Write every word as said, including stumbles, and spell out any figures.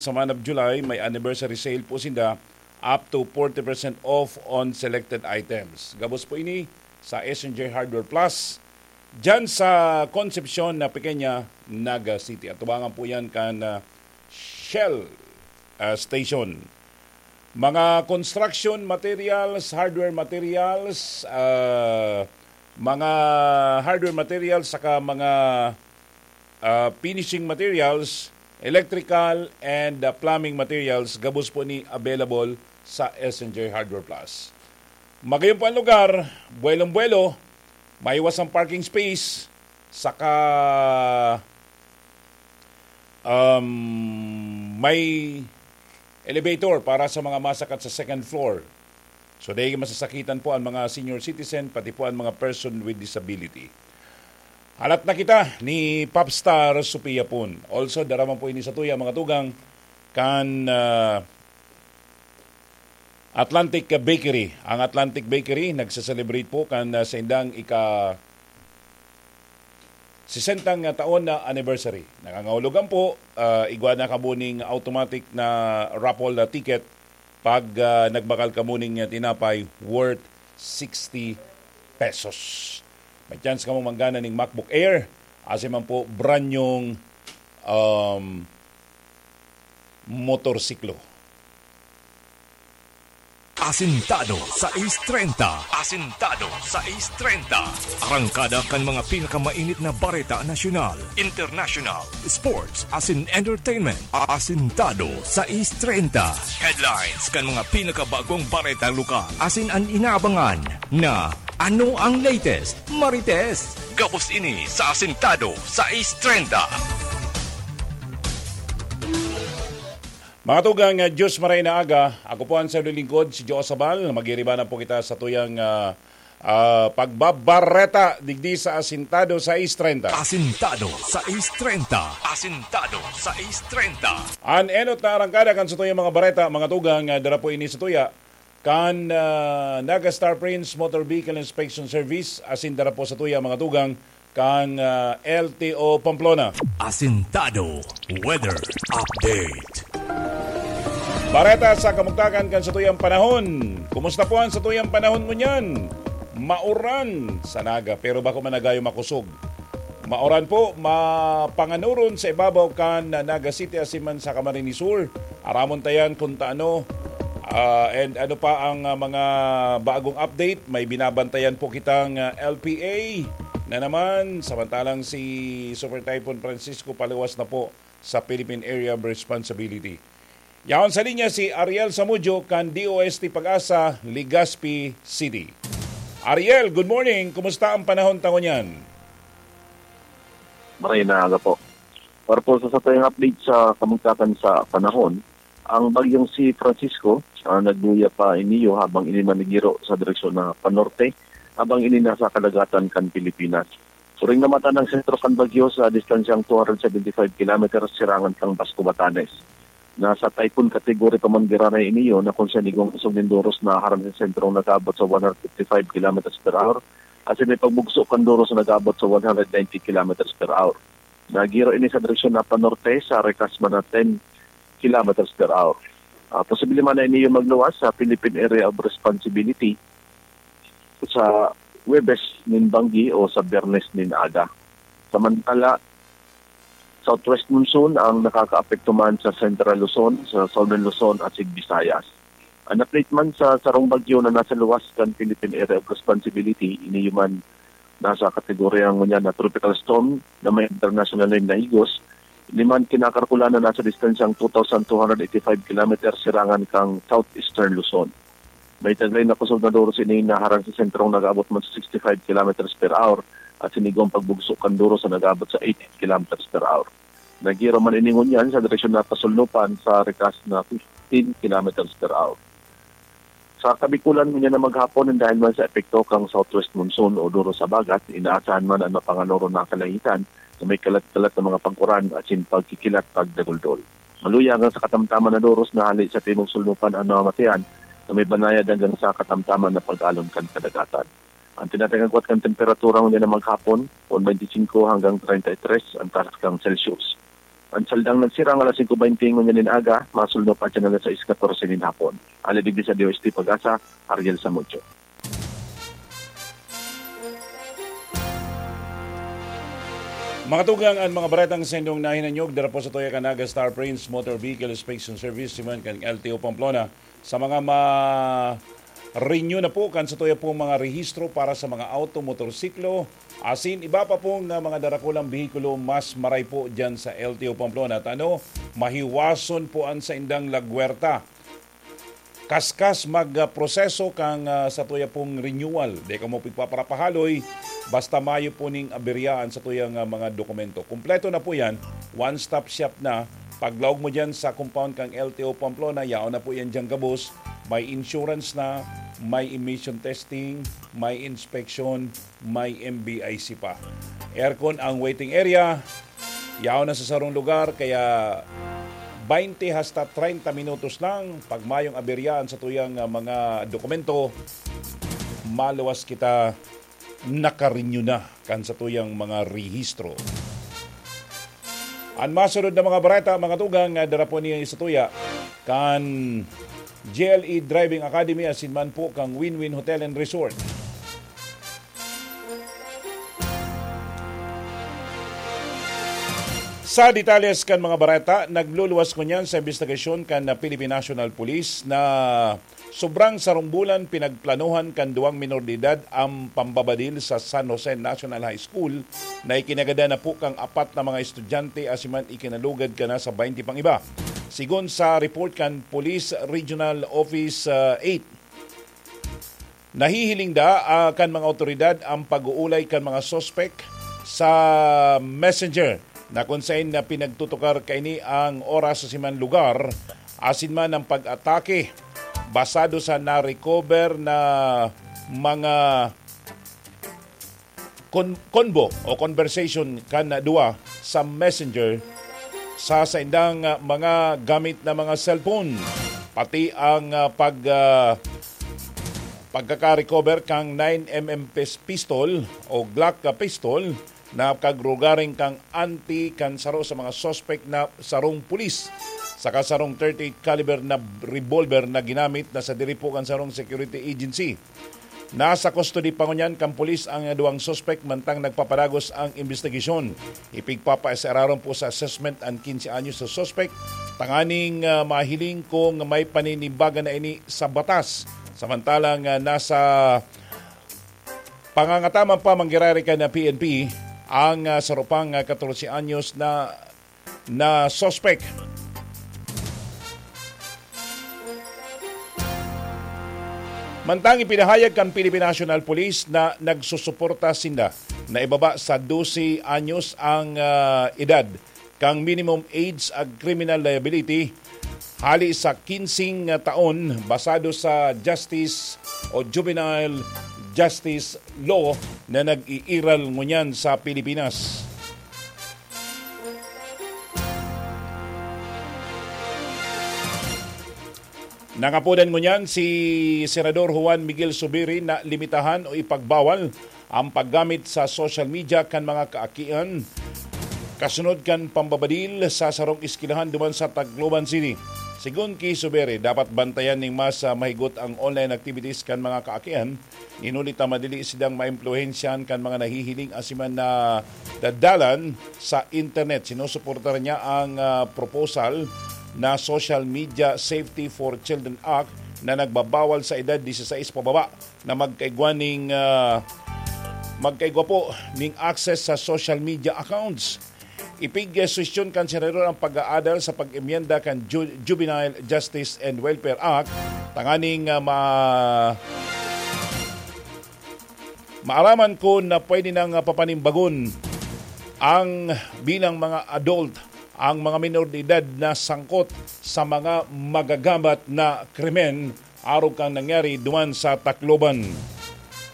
sa month of July, may anniversary sale po sinda, up to forty percent off on selected items. Gabos po ini sa S N J Hardware Plus. Diyan sa Concepcion na Pequeña, Naga City. Atubangan po yan kan ah, Shell ah, Station. Mga construction materials, hardware materials, ah, mga hardware materials, saka mga ah, finishing materials, electrical and ah, plumbing materials, gabos po ni available sa S N J Hardware Plus. Magayon po ang lugar, buwelong-buwelo, maiwas ang parking space, saka um, may elevator para sa mga masakat sa second floor. So, dahil masasakitan po ang mga senior citizen, pati po ang mga person with disability. Halat na kita ni Popstar Sophia Pun. Also, dara man po ini sa tuya, mga tugang, kan ah, Atlantic Bakery. Ang Atlantic Bakery nagse-celebrate po kan ah, saindang ika sesentang taon na anniversary. Nangangahulugan po, ah, igwa na kamo ning automatic na raffle na ticket pag ah, nagbakal kamo ning ah, tinapay worth sixty pesos. May chance kamo manggana ning MacBook Air, asin man po brand nyong um, motorsiklo. Asintado sa East treinta. Asintado sa East treinta. Arangkada kan mga pinakamainit na bareta nasyonal, international, sports, asin entertainment. Asintado sa East treinta. Headlines kan mga pinakabagong bareta lokal. Asin an inaabangan na ano ang latest, Marites? Gabos ini sa Asintado sa East treinta. Mga tugang, ah, Diyos maray na aga. Ako po ang sa lingkod, si Joe Sabal. Magiriba na po kita sa tuyang ah, ah, pagbabareta digdi sa Asintado sa East treinta. Asintado sa East treinta. Asintado sa East treinta. An enot na arangkada kan sa tuyang mga bareta, mga tugang, ah, dara po ini sa tuya. Kan ah, Naga Star Prince Motor Vehicle Inspection Service, asin dara po sa tuya, mga tugang, kan ah, L T O Pamplona. Asintado Weather Update. Bareta sa kamugtakan kan satuyang panahon. Kumusta po ang satuyang panahon ngunyan? Mauran sa Naga, pero bako man nagayo makosog. Mauran po, mapanganuron sa ibabaw kan Naga City asin man sa Camarines Sur. Aramon ta yan kung taano, ah, and ano pa ang ah, mga bagong update. May binabantayan po kitang ah, L P A na naman, samantalang si Super Typhoon Francisco paluwas na po sa Philippine Area of Responsibility. Yaon sa linya si Ariel Samudio kan D O S T Pag-asa, Legazpi City. Ariel, good morning. Kumusta ang panahon ta ngunyan? Maray na aga po. Para po sa satuyang update sa kamugtakan sa panahon, ang bagyong si Francisco ah, nagluya pa iniyo habang ini manigiro sa direksyon na panorte, habang ini nasa kadagatan kan Pilipinas. Suring namatan ang sentro kan bagyo sa distansyang two hundred seventy-five kilometers sirangan kan Basco, Batanes. Nasa typhoon category pa man giraray iniyo na kung siya igong isog nin doros na harang sa sentrong nag-aabot sa one hundred fifty-five kilometers per hour, asin may pagbugso kan doros na nag-aabot sa one hundred ninety kilometers per hour. Nagiro ini sa direksyon na panorte sa rekas man na ten kilometers per hour. Ah, posible man na iniyo magluwas sa Philippine Area of Responsibility sa Huwebes nin banggi o sa Biyernes nin aga. Samantala, southwest monsoon ang nakakaapekto man sa Central Luzon, sa Southern Luzon at sa Visayas. An update man sa sarong bagyo na nasa luwas kan Philippine Area of Responsibility, iniyo man nasa kategorya ngunyan na tropical storm na may international name na Igos, ini man kinakalkulan na nasa distansyang two thousand two hundred eighty-five kilometers sirangan kan southeastern Luzon. May taglay na kusog na doros ini na harang sa sentrong nag-aabot man sa sixty-five kilometers per hour at sinigwang pagbugso kan doros na nag-aabot sa eighty kilometers per hour. Nagiro man ini ngunyan sa direksyon na pasulnupan sa rikas na fifteen kilometers per hour. Sa Kabikulan ngunyan na maghapon, dahil man sa epekto kan southwest monsoon o doros sa bagat, inaasahan man an mapanganuron na kalangitan na may kalat-kalat na mga pag-uran asin pagkikilat pagdaguldol. Maluya hanggang sa katamtaman na doros na hale sa timog sulnupan an namamatean na may banayad hanggang sa katamtaman na pag-alon kan kadagatan. An tinatangagwat kan temperatura ngunyan na maghapon, forty-five hanggang thirty-three an taas kan Celsius. An saldang nagsirang alas singko bente ngunyan nin aga, masulnop atyan alas sais katorse nin hapon. Alagad sa D O S T Pag-asa, Ariel Samudio. Mga tugang, an mga baretang sendong nahinanyog dara po sa tuya kan Naga Star Prince Motor Vehicle Inspection Service, siman kan L T O Pamplona. Sa mga ma-renew na po kan sa tuya pong mga rehistro para sa mga auto, motorsiklo, asin iba pa pong, ah, mga darakulang behikulo, mas maray po dyan sa L T O Pamplona. At ano, mahiwason po an saindang lagwerta. Kaskas mag, ah, proseso kan, ah, sa tuya pong renewal. Di kamo pigpaparapahaloy, basta mayo po ning aberyaan sa tuyang, ah, mga dokumento. Kompleto na po yan, one-stop shop na. Paglaog mo dyan sa compound kan L T O Pamplona, yaon na po yan dyan gabos. May insurance na, may emission testing, may inspection, may M B I C pa. Aircon ang waiting area. Yaon na sa sarong lugar, kaya baynte hasta treinta minutos lang. Pag mayong aberyaan sa tuyang, ah, mga dokumento, maluwas kita naka-renew na kan sa tuyang mga rehistro. An masunod na mga bareta, mga tugang, ah, dara po niya sa tuya kan G L E Driving Academy asin man po kang Win-Win Hotel and Resort. Sa detalles kan mga bareta, nagluluwas ngunyan sa imbestigasyon kan Philippine National Police na sobrang sarong bulan pinagplanohan kan duwang minor de edad ang pambabadil sa San Jose National High School na ikinagadan na po kan apat na mga estudyante asin man ikinalugad kan nasa baynte pang iba. Sigon sa report kan Police Regional Office, ah, eight, nahihiling da, ah, kan mga awtoridad ang pag-uulay kan mga suspek sa messenger na kun saen na pinagtutukar kaini ang oras asin man lugar, asin man ang pag-atake basado sa na-recover na mga kon-, convo o conversation kan duwa sa messenger sa saindang, ah, mga gamit na mga cellphone, pati ang, ah, pag, ah, pagkaka-recover kang nine M M pis-, pistol o Glock, ah, pistol na kagrugaring kang anti kan saro sa mga suspek na sarong pulis, saka sarong thirty-eight caliber na revolver na ginamit na sa diri po kan sarong security agency. Nasa custody pa ngunyan kan pulis ang duwang suspek, mantang nagpapadagos ang imbestigasyon. Ipigpapa-S R-aron po sa assessment an quince anyos na suspek, tanganing, ah, mahiling kung may paninibaga na ini sa batas. Samantalang, ah, nasa pangangataman pa manggiraray kan P N P ang, ah, saro pang, ah, katorse anyos na, na suspek. Mantang ipinahayag kan Philippine National Police na nagsusuporta sinda na ibaba sa dose anyos ang, ah, edad kan minimum age ag criminal liability hali sa kinsing taon, basado sa justice o juvenile justice law na nag-iiral ngunyan sa Pilipinas. Nangapodan ngunyan si Senador Juan Miguel Zubiri na limitahan o ipagbawal ang paggamit sa social media kan mga kaakian kasunod kan pambabadil sa sarong eskwelahan duman sa Tacloban City. Sigon ki Zubiri, dapat bantayan ning mas, ah, mahigot ang online activities kan mga kaakian, nin huli ta madili sidang maimpluwensyahan kan mga nahihiling asin man na dadalan sa internet. Sinusuportahan niya ang, ah, proposal na Social Media Safety for Children Act na nagbabawal sa edad disisais pababa na magkaigwa ning, ah, magkaigwa po ning access sa social media accounts. Ipigsuhestyon kan senador ang pag-aadal sa pag-emyenda kan Ju-, Juvenile Justice and Welfare Act tanganing, ah, ma-, maaraman kun pwede nang, ah, papanimbagon ang bilang mga adult ang mga minor de edad na sangkot sa mga magagamat na krimen arog kan nangyari duman sa Tacloban.